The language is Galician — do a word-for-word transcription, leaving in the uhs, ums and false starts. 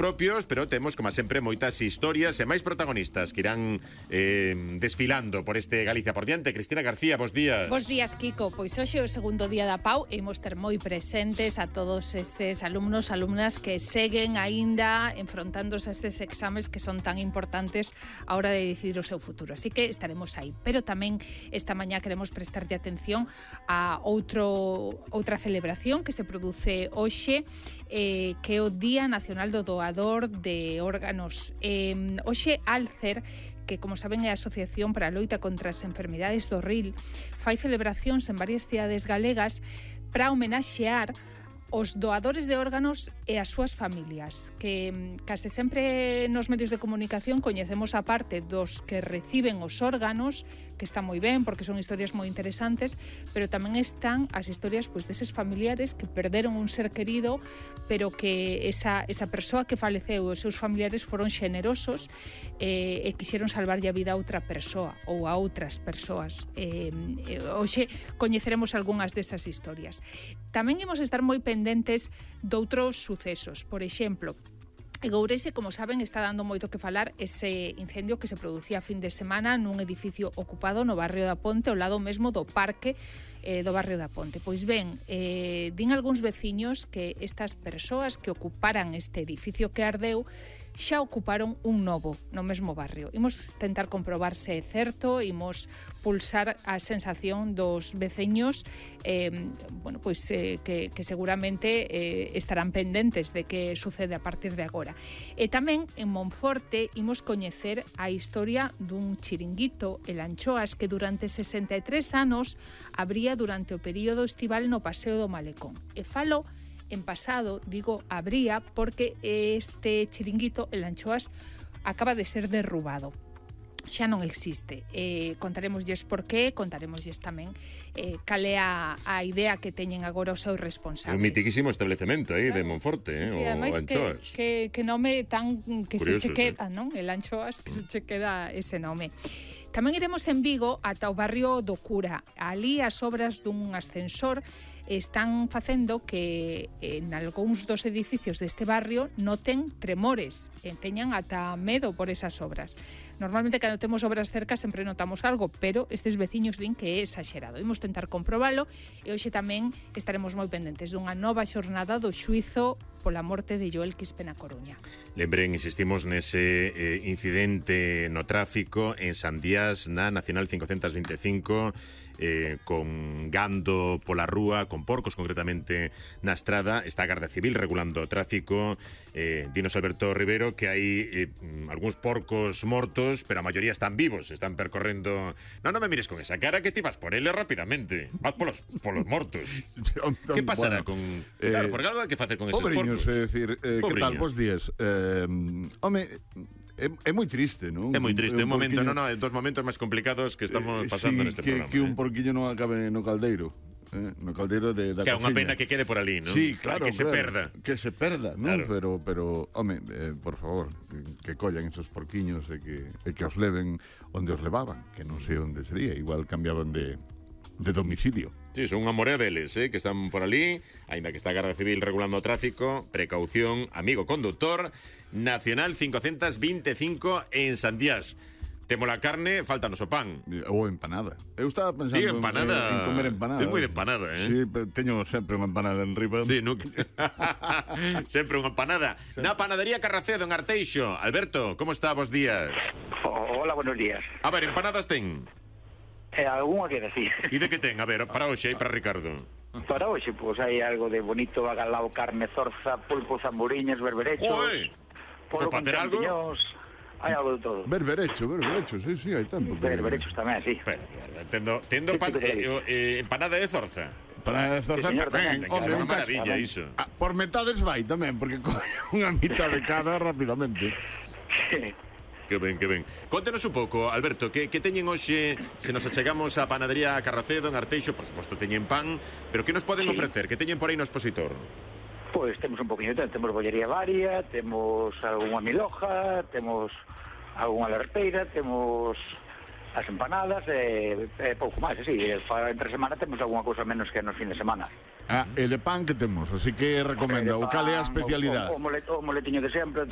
propios, pero temos, como sempre, moitas historias e máis protagonistas que irán eh, desfilando por este Galicia por diante. Cristina García, bos días. Bos días, Kiko. Pois hoxe é o segundo día da P A U e imos ter moi presentes a todos eses alumnos, alumnas que seguen aínda enfrontándose a eses exames que son tan importantes a hora de decidir o seu futuro. Así que estaremos aí. Pero tamén esta mañá queremos prestarlle atención a outro outra celebración que se produce hoxe, eh, que é o Día Nacional do Doador de Órganos. Eh, hoxe Alcer, que, como saben, é a Asociación para a Loita contra as Enfermidades do Ril, fai celebracións en varias cidades galegas para homenaxear os doadores de órganos e as súas familias, que case sempre nos medios de comunicación coñecemos a parte dos que reciben os órganos, que está moi ben, porque son historias moi interesantes, pero tamén están as historias pois deses familiares que perderon un ser querido, pero que esa, esa persoa que faleceu, os seus familiares foron xenerosos eh, e quixeron salvarlle a vida a outra persoa ou a outras persoas. Eh, eh, hoxe coñeceremos algunhas desas historias. Tamén imos estar moi pendentes doutros sucesos. Por exemplo, en Ourense, como saben, está dando moito que falar ese incendio que se producía a fin de semana nun edificio ocupado no barrio da Ponte, ao lado mesmo do parque eh, do barrio da Ponte. Pois ben, eh, din algúns veciños que estas persoas que ocuparan este edificio que ardeu xa ocuparon un novo no mesmo barrio. Imos tentar comprobar se é certo, imos pulsar a sensación dos veciños eh, bueno, pois, eh, que, que seguramente eh, estarán pendentes de que sucede a partir de agora. E tamén en Monforte imos coñecer a historia dun chiringuito, el Anchoas, que durante sesenta e tres anos abría durante o período estival no Paseo do Malecón. E falo en pasado, digo, habría, porque este chiringuito, el Anchoas, acaba de ser derrubado. Xa non existe. Eh, contaremosles por qué, contaremosles tamén eh, cal é a, a idea que teñen agora os seus responsables. Un mitiquísimo establecemento aí, claro, de Monforte, sí, sí, eh, o Anchoas. Que, que, que nome tan que Curioso, se che queda, sí, non? El Anchoas, que se che queda ese nome. Tamén iremos en Vigo ata o barrio do Cura. Ali as obras dun ascensor están facendo que en algúns dos edificios deste barrio noten tremores, e teñan ata medo por esas obras. Normalmente, cando temos obras cerca, sempre notamos algo, pero estes veciños din que é exagerado. Imos tentar comprobalo, e hoxe tamén estaremos moi pendentes dunha nova xornada do xuizo pola morte de Joel Quispe na Coruña. Lembren, insistimos nese eh, incidente no tráfico en Sandiás, na Nacional cincocentos veinticinco, eh, con gando pola rúa, con porcos concretamente na estrada. Está a Garda Civil regulando o tráfico. eh, Dinos Alberto Rivero que hai eh, algúns porcos mortos, pero a maioría están vivos, están percorrendo. Non, non me mires con esa cara, que ti vas por ele rapidamente. Vas polos, polos mortos. Que pasará bueno, con... eh, Claro, porque algo hai que facer con esos pobriños, porcos. é dicir, eh, que tal, bos días. Eh, home, é, é moi triste, non? É moi triste, un, un momento, porquiño... non, non, dos momentos máis complicados que estamos pasando sí, neste que, programa. que un eh. porquiño non acabe no caldeiro. Eh, no caldeiro de, da Que é unha cociña. pena que quede por ali, non? Sí, claro, que se claro, perda. Que se perda, non? Claro. Pero, pero, home, eh, por favor, que, que collan esos porquiños e que, e que os leven onde os levaban, que non sei onde sería, igual cambiaban de, de domicilio. Sí, son unha morea deles, eh, que están por ali, aínda que está a Garda Civil regulando o tráfico. Precaución, amigo conductor. Nacional cincocentos veinticinco en Sandiás. Temos a carne, faltanos o pan. Ou empanada. Eu estaba pensando Sí, empanada. en, en comer empanada. Ten moi de empanada, eh? Sí, pero teño sempre unha empanada en riba. Sí, nunca... sempre unha empanada. Sí. Na panadería Carracedo, en Arteixo. Alberto, como está? Bos días. Oh, hola, buenos días. A ver, empanadas ten? Eh, Alguna que decir. E de que ten? A ver, para hoxe e para Ricardo. Para hoxe, pois, pues, hai algo de bonito, agalao, carne, zorza, pulpo, zamburiñas, berberechos, Joder! polo Por con facer algo? champiñóns, hai algo de todo. Berberecho, berberecho, sí, sí, hai tempo. que- Berberechos tamén, sí. Espera, tendo, tendo Sí, pan, sí, sí. eh, eh, empanada de zorza. Para zorza Sí, señor, tamén. tamén. Ten que ser Home, unha un cacho. maravilla iso. Ah, por metades vai tamén, porque coge unha mitad de cada rapidamente. Que ben, que ben. Contenos un pouco, Alberto, que, que teñen hoxe, se nos achegamos á panadería Carracedo, en Arteixo, por suposto teñen pan, pero que nos poden Sí. ofrecer? Que teñen por aí no expositor? Pois temos un poquinho de tempo, temos bollería varia, temos algunha miloja, temos algunha larpeira, temos as empanadas e, e pouco máis, así, entre semana temos algunha cousa menos que nos fin de semana. Ah, e de pan que temos, así que recomenda, o cal é a especialidade? O, o, o, molet, o moletiño de sempre,